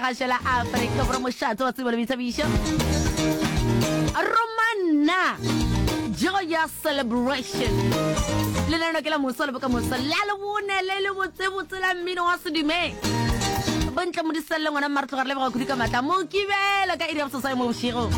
Gašo la Afrika Borwa mošate wa tsebo le boithabišo. Romanna Joyous Celebration. Lenaneo ke la moso le bokamoso la lebone le le botsebotse la mmino wa sedumeng. Bontle Modiselle ngwana mma re tloga re leboga kudu ka matla mokibelo ka iri ya boseswai mo bošego.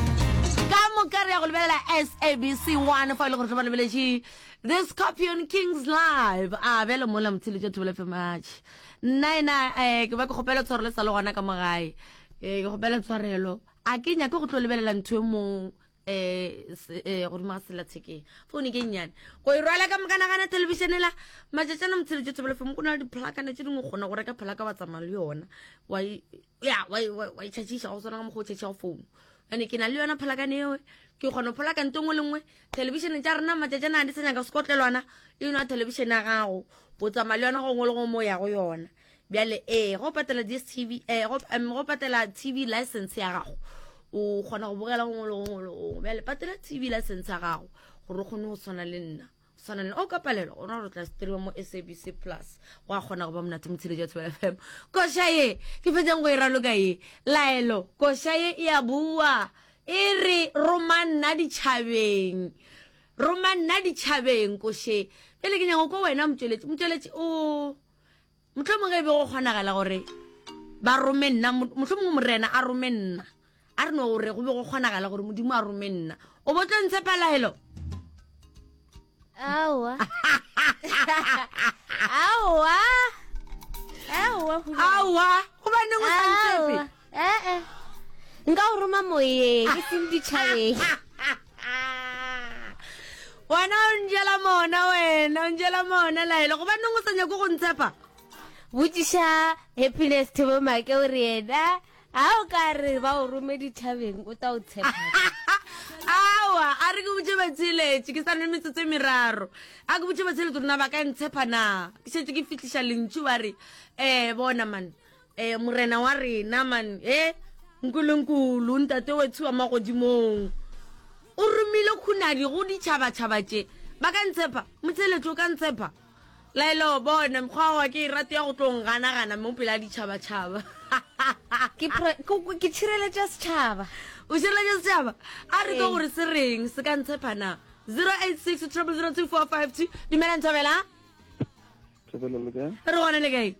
Ka moka re ya go lebelela SABC 1 fa e le gore tlo ba lebeletše The Scorpion Kings Live. A bjale mola motsheletša Thobela FM atšhe. Nna ena um ke ba ke kgopela tshwarelo sa le gona ka mo gae um ke kgopela tshwarelo a ke nyake go tlo lebelela ntho e mong um godimo ga sellathekeng foune ke nnyane go e rwala ka mokanagana thelebišene la matšatšana motsheletše thobelo fm go na le dipholakana tše dingwe kgona go reka pholaka wa tsamaya le yona wa ya wa itšhatšiša go swana ka mokgwa o tšhatšišago founu ane ke na le yona pholakane eo ke kgona go pholaka nto nngwe le nngwe thelebišene tša rena matšatšana a di sa nyaka sekotlelwana e nwa thelebišene ya gago o tsamaya le yona gongwe le gongwe mo ya go yona bjale ee go patela dstv eh, go, um, go patela tv license ya gago o kgona go bogela gongwe le gongwe le gongwe bjale patela tv license ya gago gore o kgone go tshwana le nna tshwana le o ka palelwa gona gore tla streama mo sabc plus go a kgona go ba monate motshiletso wa thobela fm koša ye ke fetsang go e raloka ye laelo koša ye e a bua e re roma nna ditšhabeng roma nna ditšhabeng koše pele ke nyako ko wena motšweletši motšweletši o mohlomongwe ge e be go kgonagala gore ba rome nna mohlomongwe morena a rome nna a re no gore go be go kgonagala gore modimo a rome nna o bo tlo ntshepa laelo aowa aowa aowa aowa gobaneng o sa ntshepe ee nka o roma moyeng ke seng ditšhabeng wena o njela mona wena o njela mona laelo gobaneng o sa nyako go ntshepa botšiša happiness thebo make o re yena ga o ka re ba o rome ditšhabeng o tla o tshepa awa a re ke botse batsheletše ke sa ne metsotso e meraro a ke botse batsheletše rona ba ka ntshepa na ke šetse ke fitlhiša lentšu ba re um bona man um morena wa rena man e nkulunkulu ntate wetsho wa magodimong o romile khunadi go ditšhabatšhaba tše ba ka ntshepa motsheletše o ka ntshepa laelo bona mokgwa wa ke e rate ya go tlo nganagana mo pele a ditšhabatšhaba ke tshireletša setšhaba o šireletša setšhaba a re ka gore se reng se ka ntshepa na 086 0002452 dumelang thobela Thobela le kae? Re gona le kae?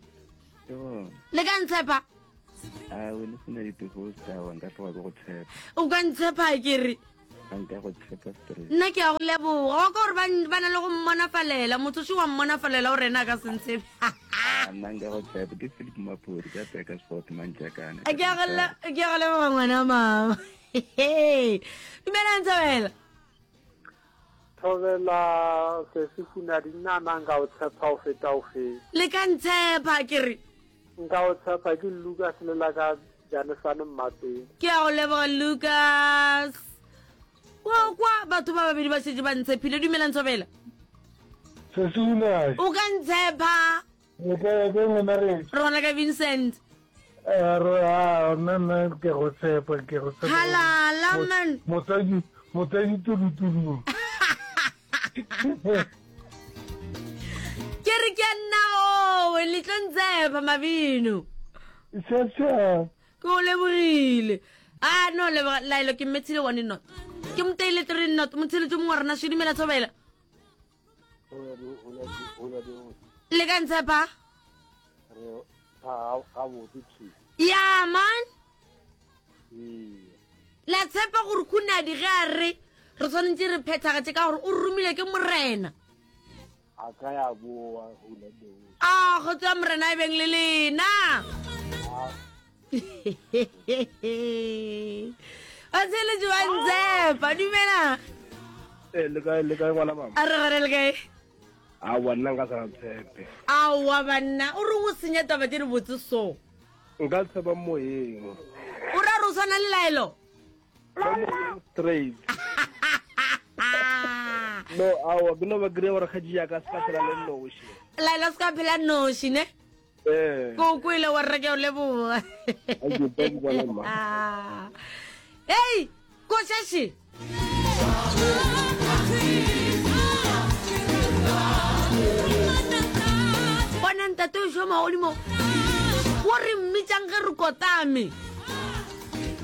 Ke gona. Le ka ntshepa? A o le sena dipeho tsa wa nka tloga ke go tshepa. O ka ntshepa ke re. A nka go tshepa straight. Nna ke a go leboga. Wa ka gore ba ba na le go mmonafalela. Motho še wa mmonafalela o rena a ka se ntshepe. A nna nka go tshepa ke Philip Mapuri ka Peka Sport Mantšakane. Ke a go ke a go leboga ngwana mama. Dumelang Thobela. Thobela sesi Hunadi nna na nka o tshepa o feta o fe. Le ka ntshepa ke re. Nka o tshepa ke Lucas le la ka Janesane Mmapeng. Ke a go leboga Lucas. Wa kwa batho ba babedi ba šetše ba ntshepile dumelang Thobela. Sesi Hunadi. O ka ntshepa. Le kae ke ngwana re? Re gona ka Vincent. Eh, re a nna nna ke go tshepa ke go tshepa. Halala man. Motsadi motsadi tulu tulu. Ke re ke nna owe le tlo ntshepa mabino. Tshepa. Ke o lebogile. A no leboga laelo ke mmethile one not. Ke moteile three not motsheletso mongwe wa rena šedimela thobela. Le ka ntshepa? Ya man. La tshepa gore khunadi ge a re re tshwanetse re phethagatše ka gore o romile ke morena. A ka ya boa A kgotso ya morena e beng le lena. Batheeletši ba Ntshepa, dumela. Eh, le kae le kae ngwana mama? A re gare le kae? Aowa nna nka sa tshepe. Aowa banna, o reng o senya taba tše dibotse so? Nka tshepa moyeng. O ra re o swana le laelo? Ba moyeng straight. No, aowa ke no ba kry-a gore kgatši ya ka se ka phela le noši. Laelo se ka phela noši ne? Eh. Ko kwele wa rre ke o leboga. Hey, ko shashe. Bona ntate o šoma godimo. Wo re mmitšang ge re kotame.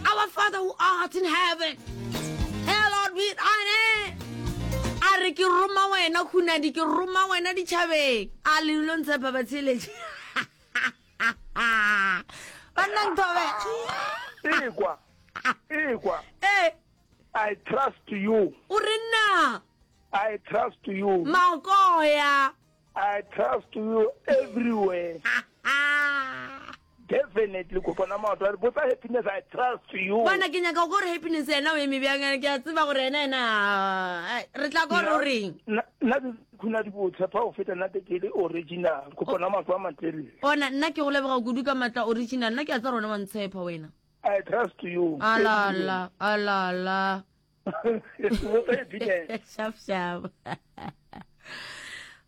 Our Father who art in heaven, hallowed be thy name. A re ke roma wena Khunadi, ke roma wena ditšhabeng. A le lo ntshepa batheeletši. Banna nthobe. Ekwa. Ekwa. Eh. I trust you. O re nna. I trust you. Makoya. I trust you everywhere. Definitely kopana maoto a re botsa happiness I trust you. Bona ke nyaka go gore happiness yena o eme bjang ke a tseba gore yena yena re tla go re reng. Nna ke khuna di bo tshepa go feta nna ke le original kopana maoto a matelele. Ona nna ke go leboga kudu ka matla original nna ke a tseba rona wa ntshepa wena. I trust you. Alala alala. Shap shap.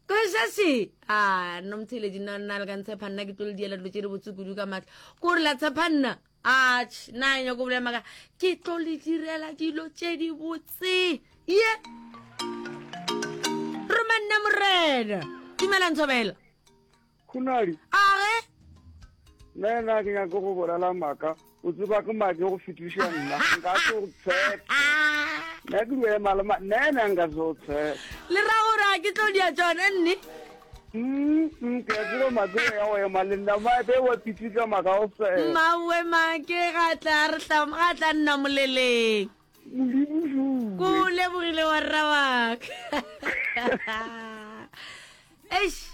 Košaši a nno motheeletši nna nna le ka ntshepa nna ke tlo le diela dilo tše di botse kudu ka maatla ko re la tshepa nna atšh nna e nyako bolela maka ke tlo le direla dilo tše di botse ye roma nna morena dumela ntshobela Khunadi. A ge? Nna ena ke nyake go bolela maaka. O tseba ke make go fetiša nna. Nka se go tshepe. Nna ke dio ema le ma nna ena nka se go tshepe. Le ra gore a ke tlo dia tšona nne? Mm, ke a tseba make o ya go ema le nna make wa pitika maka o fela. Mmawe make ga tla re tla ga tla nna moleleng. Modimo Ko lebogile wa rra waka. Eish.